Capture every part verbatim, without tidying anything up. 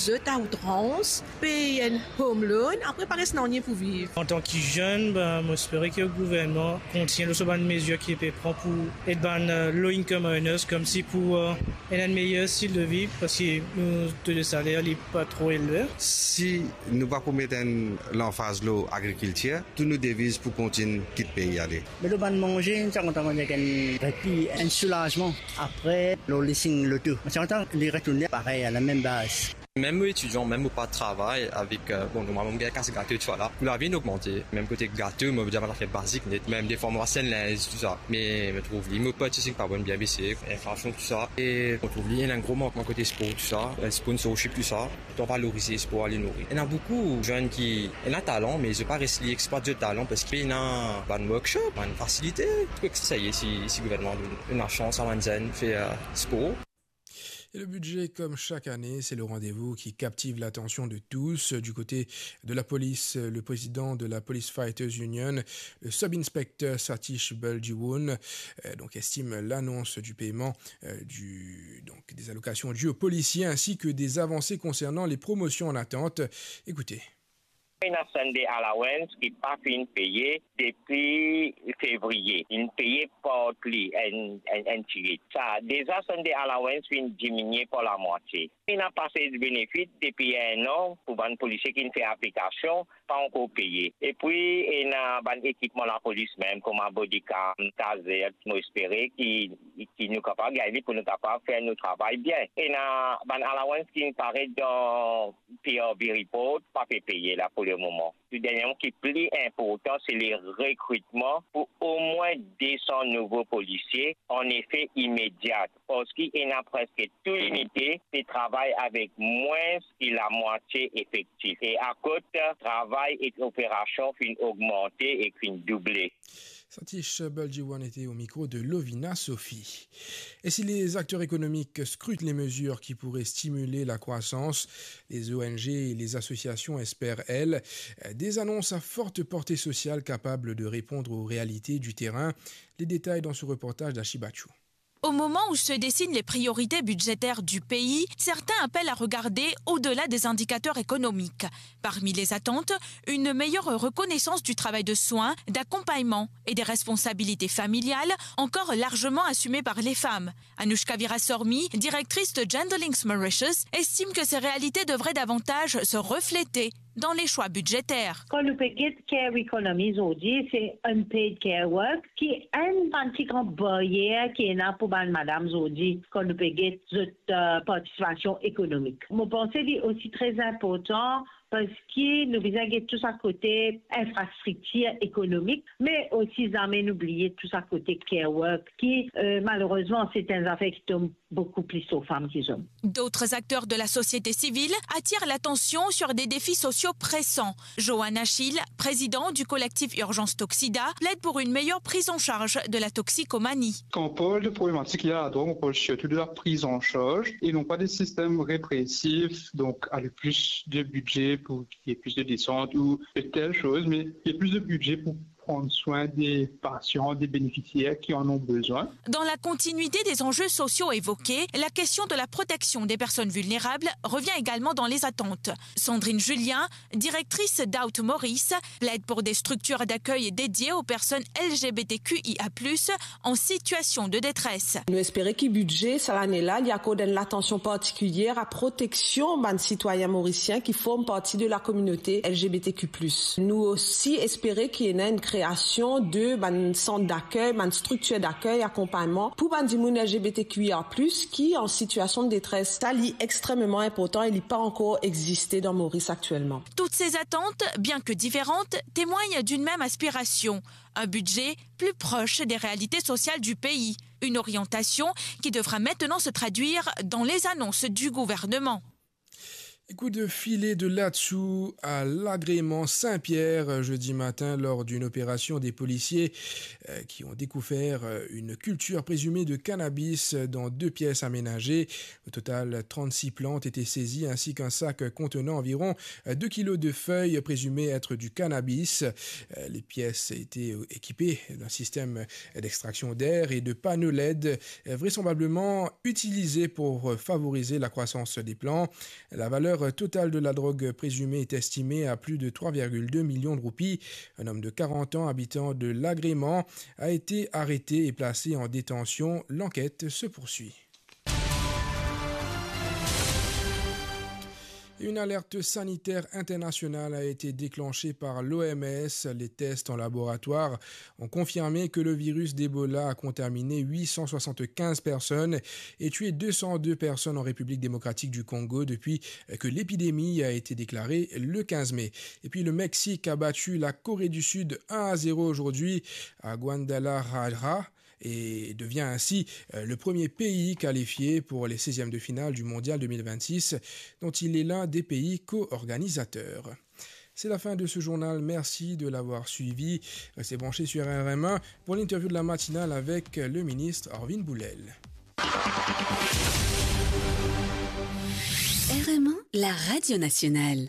Zot a outrans, pey enn home loan, apre pa res nanye pou viv. Antan ki zenn, ben, mo espere ki gouvernman kontign lor so bann mezir ki pe pran pou ed bann, eh, low income earners, koumsi pou, eh, ena enn meyer stil de vi, parski nou to de saler li pa tro elve. Si nou pa pou met enn lanfaz lor agrikiltir, tou nou deviz pou kontign kit pei ale. Me lor bann manze, nou ti kontan manz enn repi, enn soulazman. Apre, lor leasing loto, nou ti kontan li retourn parey, a lamem baz. Mem mo etidian, mem mo pa travay avek, eh, bon, normalman, mo gagn kas gato, tousala. Kou lavi inn ogmante, mem kote gato, mo dir bann zafer bazik net, mem defwa mo aste enn linz, tousa. Me mo trouv li, mo pa ti sinn pa bon, bien bese, inflasion, tousa. E mo trouv li, ena enn gro mankman kote spor, tousa, eh, sponsorship, tousa. Pou valorize spor ale nouri. Ena boukou zenn ki ena talan, me zot pa res li eksplwat zot talan parski pena bann workshop, bann fasilite. Pou exersis, si, si gouvernman donn, donn lasans a bann zenn fer, eh, spor. Et le budget, comme chaque année, c'est le rendez-vous qui captive l'attention de tous. Du côté de la police, le président de la Police Fighters Union, le sub-inspecteur Satish Baljiwoon, euh, donc estime l'annonce du paiement, euh, du, donc des allocations dues aux policiers ainsi que des avancées concernant les promotions en attente. Écoutez. Ena Sunday allowance ki pa finn peye depi fevriye. Inn peye partly, enn, enn, enn tigit. Sa, deza Sunday allowance finn diminie par lamwatie. Ena passage benefit depi enn an pou bann polisie ki finn fer aplikasion, pa ankor peye. Epi ena bann ekipman lapolis mem, kouma body cam, taser, mo espere ki, ki nou kapav gagn li pou nou kapav fer nou travay bien. Ena bann allowance ki paret dan P R B report, pa pe peye la pou lemoman. Tou derniereman, ki pli inportan, se le rekritman pou omwin de san nouvo polisie, an efe imedia, parski ena preske tou linite pe travay avek mwins ki lamwatie efektif. E akoz travay ek operasion finn ogmante ek finn double. Satish Baljiwoon était au micro de Lovina Sophie. Et si les acteurs économiques scrutent les mesures qui pourraient stimuler la croissance, les O N G et les associations espèrent, elles, des annonces à forte portée sociale capables de répondre aux réalités du terrain. Les détails dans ce reportage d'Ashi Bachou. Au moment où se dessinent les priorités budgétaires du pays, certains appellent à regarder au-delà des indicateurs économiques. Parmi les attentes, une meilleure reconnaissance du travail de soins, d'accompagnement et des responsabilités familiales encore largement assumées par les femmes. Anoushka Veerasormy, directrice de Gender Links Mauritius, estime que ces réalités devraient davantage se refléter dans les choix budgétaires. Kan nou pe get care economy zordi, se unpaid care work, ki enn bann pli gran baryer ki ena pou bann madam zordi, kan nou pe get zot, eh, partisipasion ekonomik. Mo panse li osi tre inportan parski nou bizin get tou sa kote infrastriktir ekonomik, me osi zame nou bliye tou sa kote care work ki, eh, malerezman, se enn zafer ki tom boukou plis lor fam ki zom. D'autres acteurs de la société civile attirent l'attention sur des défis sociaux pressants. Johan Achille, président du collectif Urgence Toxida, plaide pour une meilleure prise en charge de la toxicomanie. Kan on parle de problématique liée à la drogue, on parle surtout de la prise en charge et non pas des systèmes répressifs, donc avec plus de budget pour qu'il y ait plus de descente ou de telles choses, mais il y a plus de budget pour prendre soin des patients, des bénéficiaires qui en ont besoin. Dans la continuité des enjeux sociaux évoqués, la question de la protection des personnes vulnérables revient également dans les attentes. Sandrine Julien, directrice d'Out Maurice, plaide pour des structures d'accueil dédiées aux personnes L G B T Q I A plus en situation de détresse. Nou espere ki bidze sa lane la, li akord enn latansion partikilier a proteksion bann sitwayin morisien ki form parti de la kominote L G B T Q plus. Nou osi espere ki ena enn kreasion de bann sant dakey, bann striktir dakey, akonpagnman pou bann dimoun L G B T Q I A plus ki an sitiasion de detres. Sa, li extrememan inportan e li pa ankor existe dan Moris aktielman. Toutes ces attentes, bien que différentes, témoignent d'une même aspiration, un budget plus proche des réalités sociales du pays. Une orientation qui devra maintenant se traduire dans les annonces du gouvernement. Et coup de filet de Latsou à l'agrément Saint-Pierre, euh, jeudi matin, lors d'une opération des policiers, euh, qui ont découvert, euh, une culture présumée de cannabis dans deux pièces aménagées. Au total, trente-six plantes étaient saisies ainsi qu'un sac contenant environ, euh, deux kilos de feuilles présumées être du cannabis. Euh, les pièces étaient, euh, équipées d'un système d'extraction d'air et de panneaux L E D, euh, vraisemblablement utilisés pour, euh, favoriser la croissance des plants. La valeur total de la drogue présumée est estimé à plus de trois virgule deux millions de roupies. Un homme de quarante ans, habitant de Lagreman, a été arrêté et placé en détention. L'enquête se poursuit. Une alerte sanitaire internationale a été déclenchée par l'O M S. Les tests en laboratoire ont confirmé que le virus d'Ebola a contaminé huit cent soixante-quinze personnes et tué deux cent deux personnes en République démocratique du Congo depuis que l'épidémie a été déclarée le quinze mai. Et puis le Mexique a battu la Corée du Sud un à zéro aujourd'hui à Guadalajara et devient ainsi, euh, le premier pays qualifié pour les seizièmes de finale du Mondial deux mille vingt-six, dont il est l'un des pays co-organisateurs. C'est la fin de ce journal. Merci de l'avoir suivi. Restez branchés sur R R M un pour l'interview de la matinale avec le ministre Arvin Boulel. R M un, la radio nationale.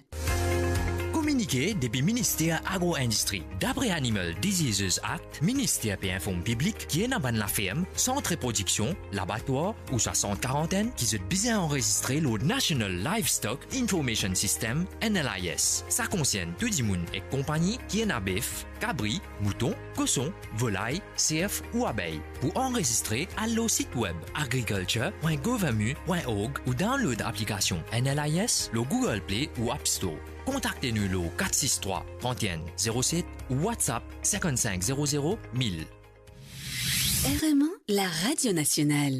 Kominike depi Minister Agro-Indistri. Dapre Animal Diseases Act, minister pe inform piblik ki ena bann laferm, sant reprodiksion, labatwar ouswa sant karantenn ki zot bizin anrezistre lor National Livestock Information System, N L I S. Sa konsern tou dimoun ek konpagni ki ena bef, kabri, mouton, koson, volay, serf ou abey. Pou anrezistre, al lor sit web agriculture point gouv mu point org ou download aplikasion N L I S lor Google Play ou App Store. Kontakte nou lor kat sis trwa, trant enn, zero set ou WhatsApp cinquante-cinq zéro zéro mille. R M un, la radio nationale.